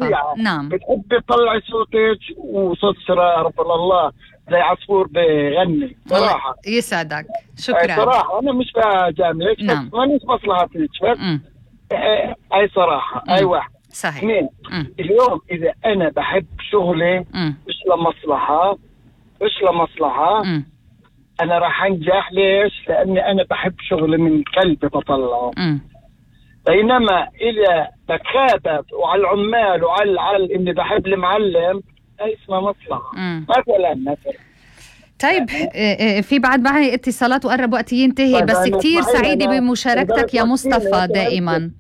الطبيعة. نعم. بتحب تطلعي صوتك وصوت سرار الله زي عصفور بغني صراحة. يسعدك، شكرا. صراحة أنا مش بجاملك. نعم. مانيش مصلحتك. أي صراحة. أي واحد. صحيح. اثنين. اليوم إذا أنا بحب شغلي مش لمصلحة أنا راح أنجح. ليش؟ لأني أنا بحب شغلي من قلبي بطلعه. بينما إذا بخابت وعلى العمال وعلى إني بحب المعلم أي اسمها مصلحة مثلا. طيب في بعد معي اتصالات وقرب وقتي ينتهي، بس كتير سعيدة بمشاركتك يا مصطفى دائما.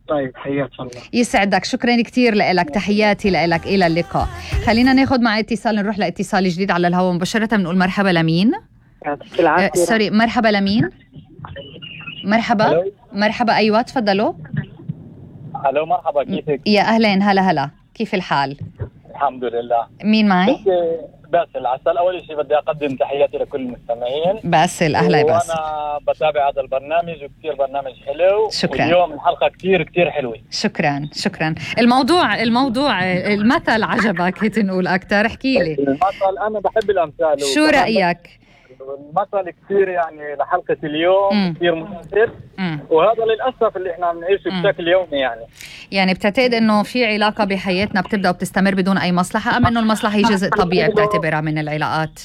طيب حياك الله. يسعدك، شكرا كتير لك، تحياتي لك، إلى اللقاء. خلينا ناخد مع اتصال، نروح لاتصال جديد على الهواء مباشرة. بنقول مرحبا لمين؟ سوري، مرحبا لمين؟ مرحبا أيوة تفضلوا. الو مرحبا، كيفك؟ يا أهلين، هلا كيف الحال؟ الحمد لله. مين معي؟ باسل عسل. أول شيء بدي أقدم تحياتي لكل المستمعين. باسل، أهلا يا باسل. وأنا بتابع هذا البرنامج وكثير برنامج حلو. شكرا. واليوم الحلقة كثير حلوة. شكرا. الموضوع المثل عجبك هيك نقول أكتر، احكي لي. المثل أنا بحب الأمثال. شو رأيك؟ المثل كثير يعني لحلقة اليوم كثير مؤثر. وهذا للأسف اللي احنا عم نعيشه بشكل يومي. يعني بتعتقد انه في علاقة بحياتنا بتبدأ وبتستمر بدون اي مصلحة، ام انه المصلحة هي جزء طبيعي بتعتبرها من العلاقات؟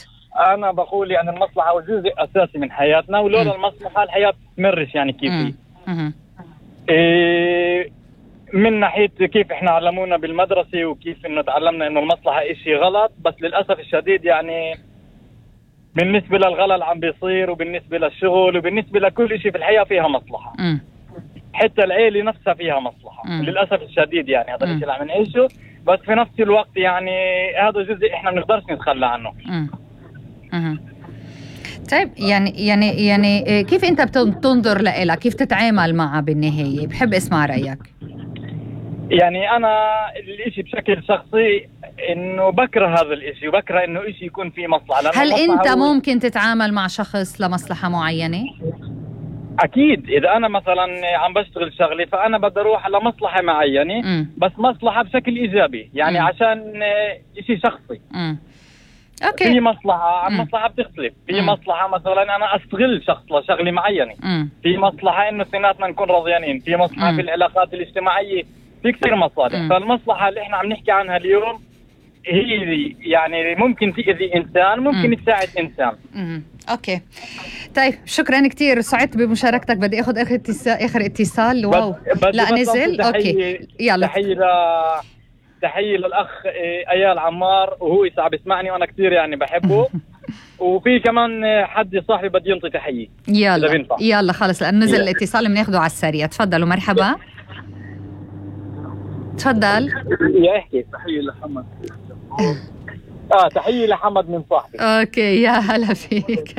انا بقول يعني المصلحة هو جزء اساسي من حياتنا، ولولا المصلحة الحياة بتمرش يعني كيف من ناحية كيف احنا علمونا بالمدرسة وكيف انه تعلمنا انه المصلحة اشي غلط، بس للأسف الشديد يعني بالنسبة للغلا اللي عم بيصير وبالنسبة للشغل وبالنسبة لكل شيء في الحياة فيها مصلحة. حتى العيلة نفسها فيها مصلحة. للأسف الشديد يعني هذا الشيء اللي عم نعيشه، بس في نفس الوقت يعني هذا جزء احنا ما بنقدرش نتخلى عنه. طيب يعني كيف انت بتنظر لها؟ كيف تتعامل معها بالنهاية؟ بحب اسمع رأيك. يعني أنا الإشي بشكل شخصي إنه بكره هذا الإشي وبكره إنه إشي يكون فيه مصلحة. هل أنت ممكن تتعامل مع شخص لمصلحة معينة؟ أكيد. إذا أنا مثلا عم بشتغل شغلي فأنا بدي أروح لمصلحة معينة، بس مصلحة بشكل إيجابي يعني عشان إشي شخصي. أوكي. في مصلحة عن مصلحة بتختلف. في مصلحة مثلا أنا أستغل شخص لشغلي معينة. في مصلحة إنه اثنيناتنا نكون راضيانين. في مصلحة في العلاقات الاجتماعية. في كثير مصالح. فالمصلحة اللي احنا عم نحكي عنها اليوم هي يعني ممكن تأذي إنسان، ممكن تساعد إنسان. أوكي. طيب شكرا كتير، سعدت بمشاركتك. بدي أخذ آخر اتصال. واو لا نزل. أوكي يلا. تحية للأخ أيال عمار، وهو ساعة بيسمعني وأنا كتير يعني بحبه. وفي كمان حد صاحبي بدي ينطي تحية. يلا خلص لأن نزل الاتصال بناخده على السريع. تفضلوا. مرحبا. تفضل. يا احكي. تحية لحمد. تحية لحمد من صاحبي. اوكي يا هلا فيك.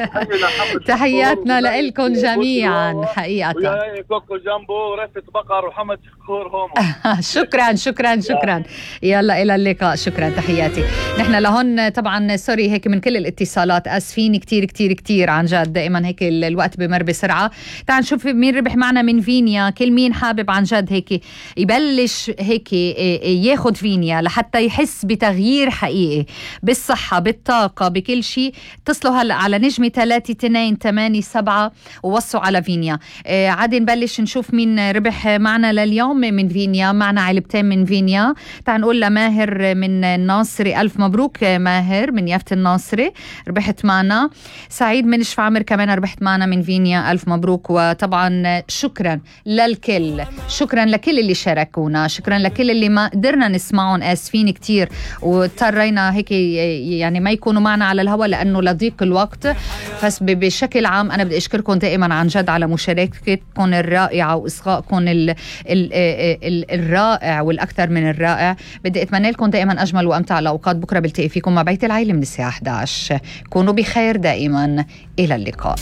تحياتنا لكم جميعا حقيقة. ويا كوكو جامبو ورفة بقر وحمد شكور هومو. شكرا. يلا إلى اللقاء. شكرا، تحياتي. نحن لهون طبعا سوري هيك من كل الاتصالات، اسفين كتير عن جد. دائما هيك الوقت بمر بسرعة. تعال نشوف مين ربح معنا من فينيا. كل مين حابب عن جد هيك يبلش هيك ياخد فينيا لحتى يحس بتغيير حقيقي بالصحة بالطاقة بكل شيء، اتصلوا هلأ على نجمة 3287 ووصوا على فينيا. عادي نبلش نشوف مين ربح معنا لليوم من فينيا. معنا علبتين من فينيا. تعال نقول لماهر من الناصري، ألف مبروك ماهر من يافت الناصري، ربحت معنا. سعيد من شفعمر كمان ربحت معنا من فينيا، ألف مبروك. وطبعا شكرا للكل، شكرا لكل اللي شاركونا، شكرا لكل اللي ما قدرنا نسمعهم، آسفين كتير واضطرينا هيك يعني ما يكونوا معنا على الهواء لأنه لضيق الوقت. بس بشكل عام أنا بدي أشكركم دائما عن جد على مشاركتكم الرائعة وإصغائكم الرائع والأكثر من الرائع. بدي أتمنى لكم دائما أجمل وأمتع الأوقات. بكرة بلتقي فيكم مع بيت العيلة من الساعة 11. كونوا بخير دائما، إلى اللقاء.